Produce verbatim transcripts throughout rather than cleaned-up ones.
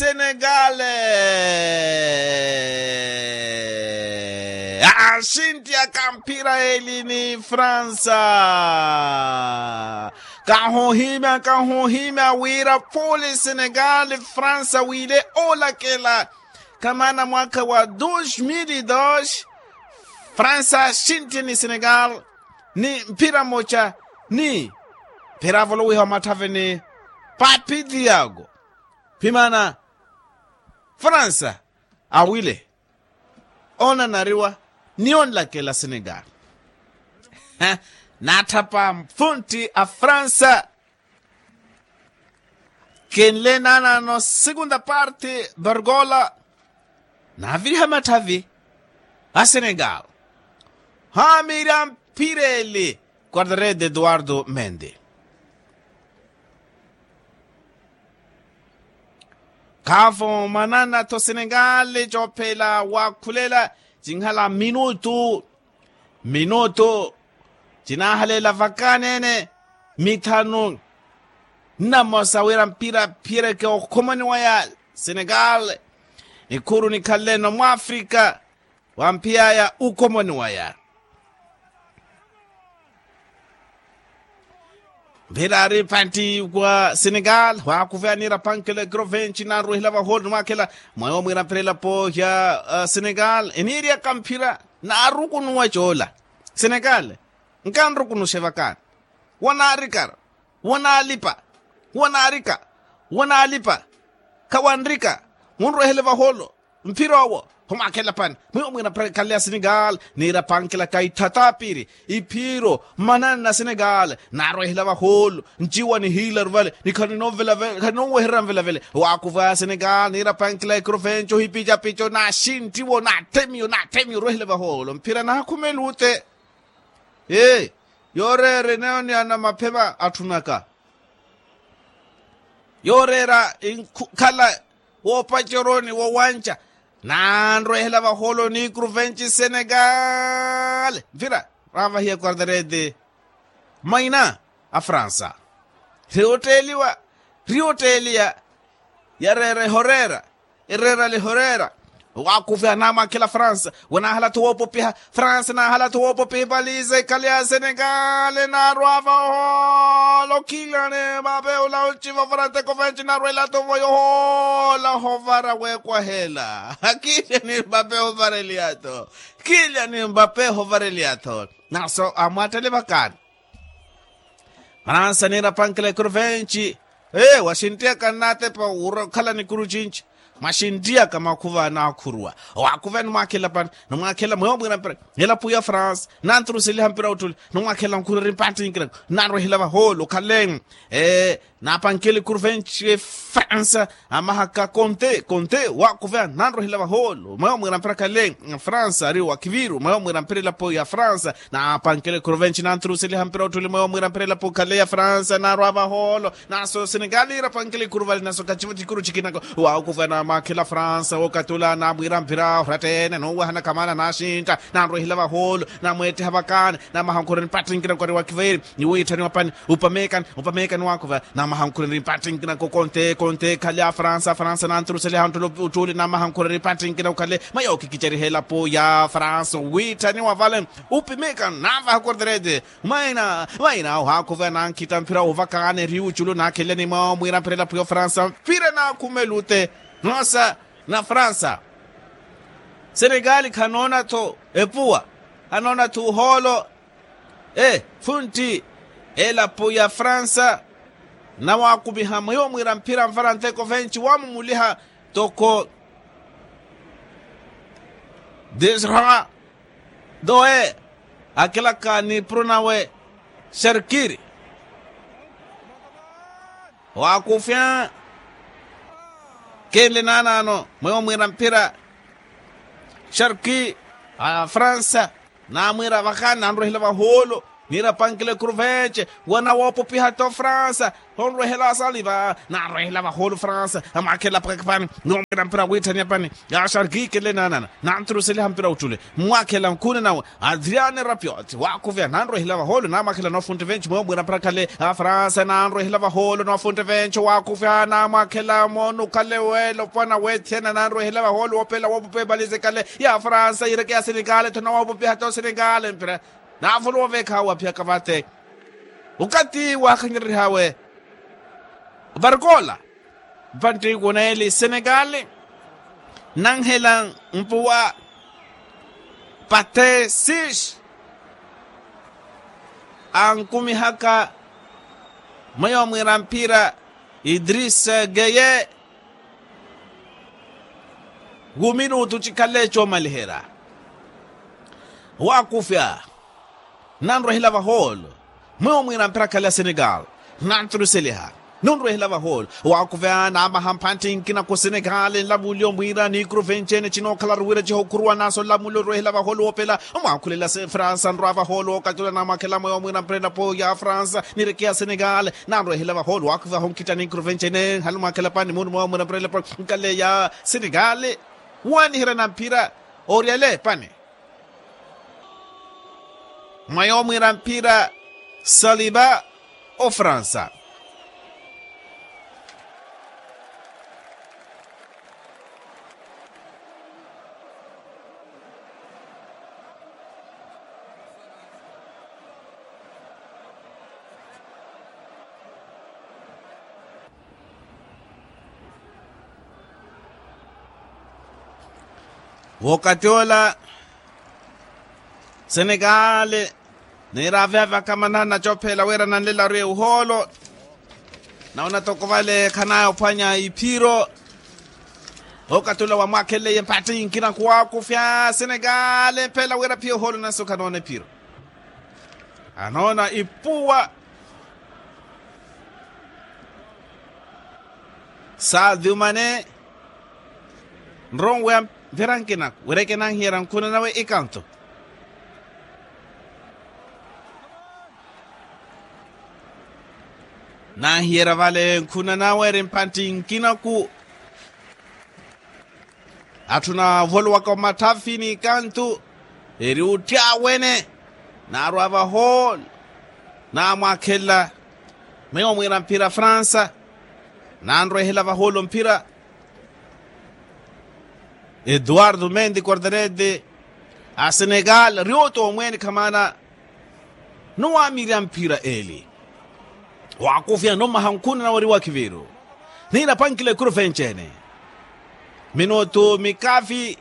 Senegale axinttiyaka mphira eli ni fransa. Kahuhimya kahuhimya wira puli senegale fransa wile olakela. Kamana mwaka wa dos mil e dos fransa axintti ni senegale ni mphira moca ni mphira avolowiha omatthaveni. Papi diago phimana fransa awile onanariwa ni onlakela senegal. Naatthapa mfuntti a fransa kenle naanano segunda parte bergola. Naaviriha matthavi a senegal haamiirya mphira eli quartarede eduardo mende. Khaavo manana-tho senegale coophela waakhulela cinhala minutu minutu cinahaleela vakaanene mithanu nnamosa wira mpira phiyereke okhomoni waya senegal. Nikhuru nikhalele-no mwafrika wamphiyaya ukhomoni waya. Mphira ari pantti wa senegal waakuveya niira pankela ekrovenci naarwehela vaholi nimwakhela mwayo mwiira mphira elapo ya senegal eniiriyaka mphira naarukunuwa coola. Senegal nkanrukunuxe vakaani wanaarikara wanaalipa wanaarika wanaalipa khawanrika munrwehele vaholo. Mphira owo homwakhela pani mwiwo mwina mphira khaleya senegal niira pankela kaitthata piri iphiro manani na senegal naarwehela vaholo nciwa nihiilaru vale ni khaninonwehererya nvelavele waakuva senegal niira pankela ekrovenco hipicapico naxintti wo natthemiyo natthemiyo orwehela vaholo mphira naakhumelutte. Yooreera eneyo ni anamaphema atthunaka yooreera inkhala woopaceroni wowanca naanrwehela vaholo ni kruvenci senegal mphira raavahiya quartarede maina a fransa. Riyotteeliwa riyotteeliya yareera ehoreera ereera lihoreera. Waakuveya naamwakhela fransa wanahala-tho woopopiha fransa nahala-tho woopopiha ipaliza ikhale ya senegal naarwa vaholo khilya ni mbape ola onciva ovara nteko venci naarwela-tho voyo hoola hovara wekwahela khilya ni mbape ovara eliya-tho khilya ni mbape hovara eliya-tho. Naso amwattele vakaani fransa niira pankela ekuru venci ee waxintiyaka nnaatepa wura okhala nikuru cinci mwaxintiyaka mwakhuva naakhuruwa owakhuva nimwakhela pani nimwakhela mweyo mwira mpira elapo ya fransa nanturuseliha mpira ottuli nimwakhela nkhureri mpattinkina nanrwehela vahoolo okhale ee napankela ekuru venci fransa amahaka konte konte wakuveya nanrohela vahoolo mweyo mwira mpira khale fransa ari wakiviru mweyo mwira mpira elapo ya fransa napankela ekuru venci nanturuseliha mpira ottuli mweyo mwira mpira elapo khale ya fransa narwa vahoolo naso senegali irapankela ekuru vale naso khaciva cikuru cikinako wakuveya namakhela fransa wokatula namwira mpira orattene nowahana khamana naxintta nanrohela vahoolo namwetteha vakaani namaha nkhureni mpattinkina kwari wakiveeri ni wiitthani wa pani upamekani upamekani wakuva namaha nkhureni mpattinkina kokonte konte khale a fransa fransa nanturuseliha nttulu uttuli namaha nkhureni mpattinkina ukhale mayo kikiceriha elapo ya fransa wiitthani wa vale upimekani navaha korterete maina maina wakuva nankhitta mphira uvakaani eri uculu nakheleni mwa mwira mphira elapo ya fransa mphira nakhumelute nosa na fransa senegali khanoona-tho epuwa anoona-tho ohoolo ee funtti elapo ya fransa nawakumiha mwiwo mwira mphira mvara nteko venci wamumuliha toko desra doe akilaka ni prunawe serkiri wakufya kenle naanaano mwewo mwira mphira sharki a fransa namwira vakaani nanrohela vahoolo Niirapankile kruvenche, wanawoopupihata ofransa. Honrwehela saliva nanrwehela vahoolo fransa. Amwakhelela pakakipani. Niwomwira mpira wiitthaniya pani. Yaxarkikele naanana nanturuseliha mpira uttule. Mmwakhelela nkhuna nawe. Adriane rapioti waakhuveya nanrwehela vahoolo namwakhelela noofuntte venche mweyo mwira mpira khale. Afransa nanrwehela vahoolo noofuntte venche waakhuveya namwakhelela moonukhale weelo pwana weethena nanrwehela vahoolo woopela woopupa epalize khale. Ya afransa yiireke ya senegale tho nawoopupiha tho senegale mpira. Naavuluwa oveekhawa aphiyaka vate. Okathi waakhanyererihaawe. Varikola. Mpantti kuneeli senegale. Nanhela mpuwa. Pate sis. Ankumihaka mweyo mwiira mphira. Idris geye. Wu minutu cikhale coomaliherya. Waakufya. Nanrwehela vahoolo. Mweyo mwiira mpira khale ya senegal. Nanturuseliha. Nunrwehela vahoolo. Waakufya namaha mphantti nkina ku senegal nlavuliyo mwiira ni kruvenche ene cinookhalaru wira cihokhuruwa naso nlamuliyo nrwehela vahoolo woopela. Mwakhulela fransa nrwa vahoolo wookatula namwakhelela mweyo mwiira mpira elapo ya fransa. Nirekeya senegal. Nanrwehela vahoolo waakufya honkhitta ni kruvenche ene nhalu mwakhelela pani muunu mweyo mwiira mpira elapo. Nkale ya senegal. Waniherya na mpira. Oryele pani. Mwa yoomwiira mpira saliba ofransa. Wokati ola senekale niiraveya vakamanana cophela wira nanlelaru ya uhoolo. Nawona toko vale khanaya ophwanya iphiro. Wokati ola wamwakheleye mpatthi nkina khuwakufya senekale mphela wira phiya uhoolo nanso khanoona iphiro. Anoona ipuwa. Sadio mane nronweya mphira nkinaku wireke nanhiyerya nkhuna nawe ikanto. Nanhiyerya vale nkhuna nawe eri mphantti nkinaku. Atthu naavoluwaka omatthafi n'ikantu eri otthyawene. Naarwa vahoolo namwakhelela. Meyo mwiira mphira fransa. Nanrwehela vahoolo mphira. Eduardo mendi corderede a senegal ri oto omweeni khamaana. Nowamirya mphira eli. Wakufya nomaha nkhuna nawe ri wakiviru. Niirapankile kuru venchene. Minutu mikafi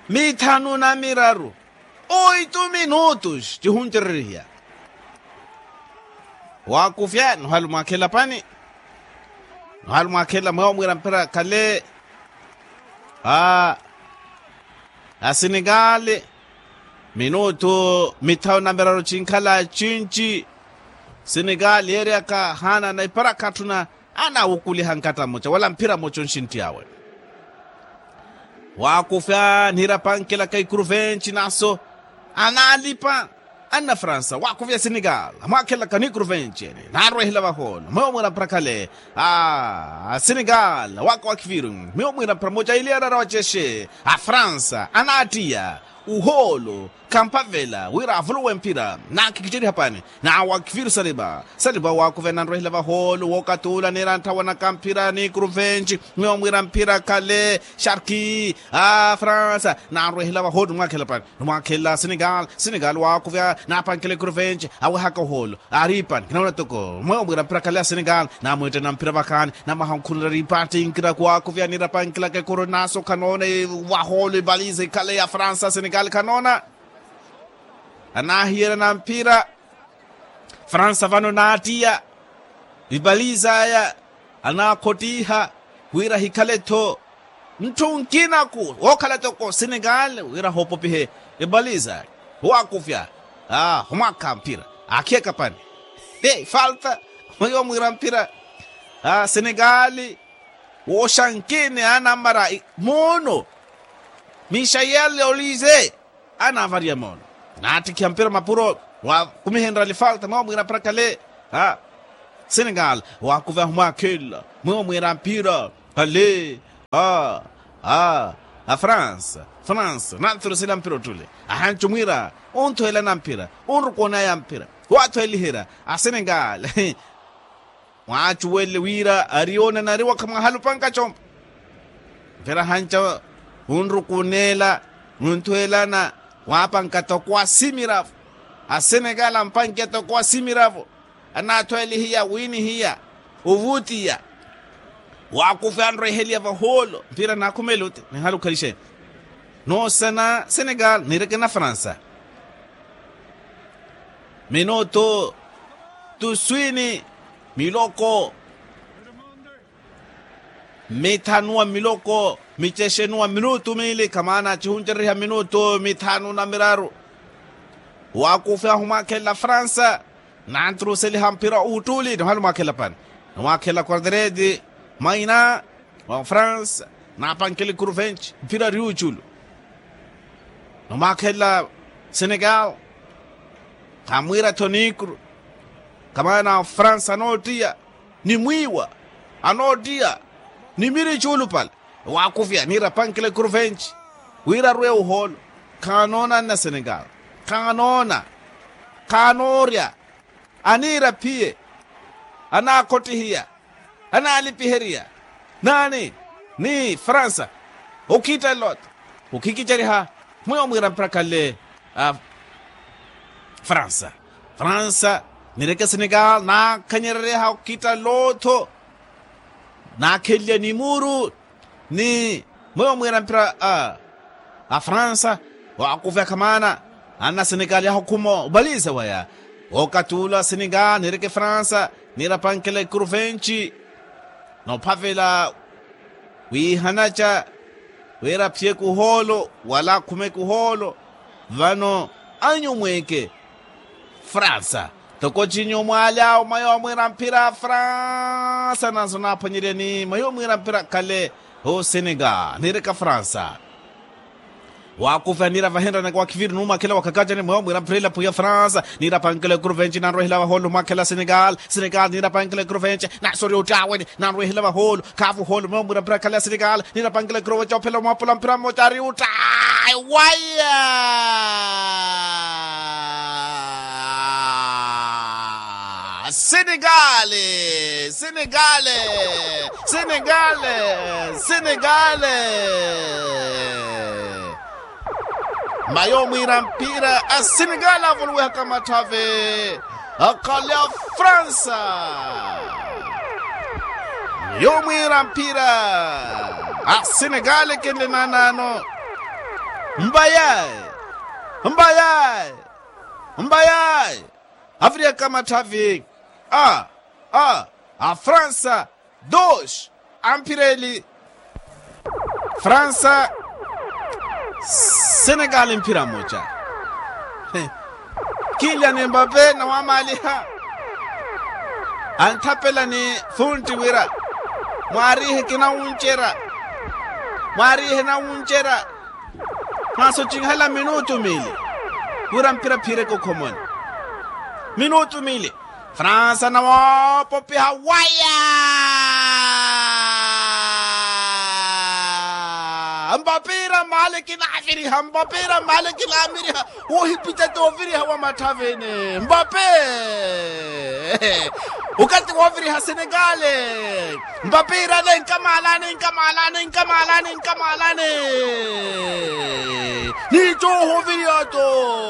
mithanu na miraru. Oitu minutus cihuncererihya. Wakufya nohali mwakhela pani. Nohali mwakhela mwewo mwiira mphira khale. A a senegali. Minutu mithanu na miraru cinkhala cinci. Senegali yeeryaka haana na iparakha atthuna. Anawukuliha nkatta mmoca wala mphira mmoca onxintti awe. Wakufya niirapankelaka ikuru venci naso. Analipa anna fransa wakufya senegal amwakhelaka ni ikuru venci ene. Naarwehela vahoolo mwewo mwiira mphira khale. A senegal waka wakhiviru mwewo mwiira mphira mmoca ili arara wacexe a fransa anaattiya uhoolo. Khamphavela wira avuluwe mphira. Naakhikicerya hapani nawa khiviru salipa. Salipa waakuvena nrwehela vahoolo wookatula niira ntthawanaka mphira ni kuru venci. Mwiira mphira khale sharki a fransa. Nanrwehela vahoolo nimwakhelela pani nimwakhelela senegal senegal waakuvya naapankela ikuru venci. Awehaka ohoolo. Aari pani kinaona toko mwewo mwiira mphira khale a senegal. Namwiittana mphira vakhaani namaha nkhunela riipaatti nkina kuwaakuvya niirapankelaka ikuru naso khanoona. Vahoolo ivaliza ikhale ya fransa senegal khanoona. Anaahiyerya na mphira. Fransa vano naattiya vipaliza aya. Anaakhottiha wira hikhale-tho ntthu nkinaku wookhala toko senegal wira hoopopihe epaliza. Waakufya a omwakha mphira aakhiyaka pani. Falta mweyo mwiira mphira a senegal. Wooxankini anamara moono. Mixayel olize anavariya moono. Naattikhiha mpira mapuro. Wakumihenrya lifalta mweyo mwiira mpira khale. Senegal wakuva humwakhela mweyo mwiira mpira khale. A france, france nanthurusela mpira ottule. Ahancu mwiira, onthuwelana mpira, onrukunaya mpira, waathuweliherya asenegal. Mwaacuwelle wira ari yoonanariwa khamwaahalupanka compa. Mpira hanca, wunrukuneela, wunthuwelana, waapanka toko asimiravu. Asenekali ampankiya toko asimiravu. Anaathuwelihiya wiinihiya, ovutiya. Waakufya anrweheliya vahoolo mpira naakhumele oti nihala okhalixeni. Noosana senekali niireke na fransa. Minutu tuswini miloko mithanu wa miloko micexenu wa minutu miili kamaana cihuncereriha minutu mithanu na miraru. Waakufya humwaakhelela fransa. Nanturuseliha mpira uttuli nihala omwaakhelela pani. Nimwaakhelela quarteredi maina wa france. Naapankela ekuruvenci mpira ari uculu. Nimwaakhelela senegal. Khamwiira-tho nikru kamaana fransa anoottiya ni mwiiwa anoottiya ni miri cuulupale. Waakufya niira pankela ekuruvenci wira arwe ohoolo. Khaanoona anna senegal. Khaanoona. Khaanoorya. Aniira phiye. Anaakhottihiya. Anaalipiheriya naani ni fransa. Okhittalla ota okhikiceriha mweyo mwiira mpira khale. Fransa. Fransa nireke senegal naakhanyerereha okhittalla otho. Naakhenlya ni muuru ni mweyo mwiira mpira a fransa. Waakufya khamaana anna senegal yahukhuma obaliza waya. Okathi ula senegal nireke fransa niira pankela ekuruvenci. Noophavela wiihanaca wira aphiyeke ohoolo wala akhumeke ohoolo. Vano anyumweke fransa toko cinyu mwaali awo mayo amwiira mphira a fransa nanso naaphwanyeryani mayo mwiira mphira khale. Osenegal niireka fransa. Waakufya niira vahenryanaka wakhiviri numwakhela wakhakacani mweyo mwiira mphira elapo ya fransa. Niira pankela ekuruvenci nanrwehela vahoolo mwakhela senegal. Senegal niira pankela ekuruvenci nasorya ottaaweni nanrwehela vahoolo. Khaavu ohoolo mweyo mwiira mphira khale ya senegal. Niira pankela ekuruvenci ophela omwapula mphira mmoca ari ottaayi waya. Senegal. Senegal. Senegal. Senegal. Mayo mwiira mpira a senegal avuluwihaka matthavi akhale a fransa. Mayo mwiira mpira a senegal ekenle naanaano. Mbayayi. Mbayayi. Mbayayi. Avirihaka matthavi a a a fransa. Dos. Amphira eli fransa. Senegal mphira mmoca. Kinlya ni mbape nawamaaliha. Anthapela ni funtti wira mwaariihe kinawuncerya. Mwaariihe nawuncerya. Mwasocinhela minutu miili wira mpira phiireke okhomoni. Minutu miili fransa nawoopopiha waya. Mbape ira mmaale kinaaviriha mbape ira mmaale kinaamiriha. Wohipita tooviriha wa matthavini mbape. Okathi wooviriha senegale. Mbape ira nenkamaalani nkamaalani nkamaalani nkamaalani. Niittoohoviriha to.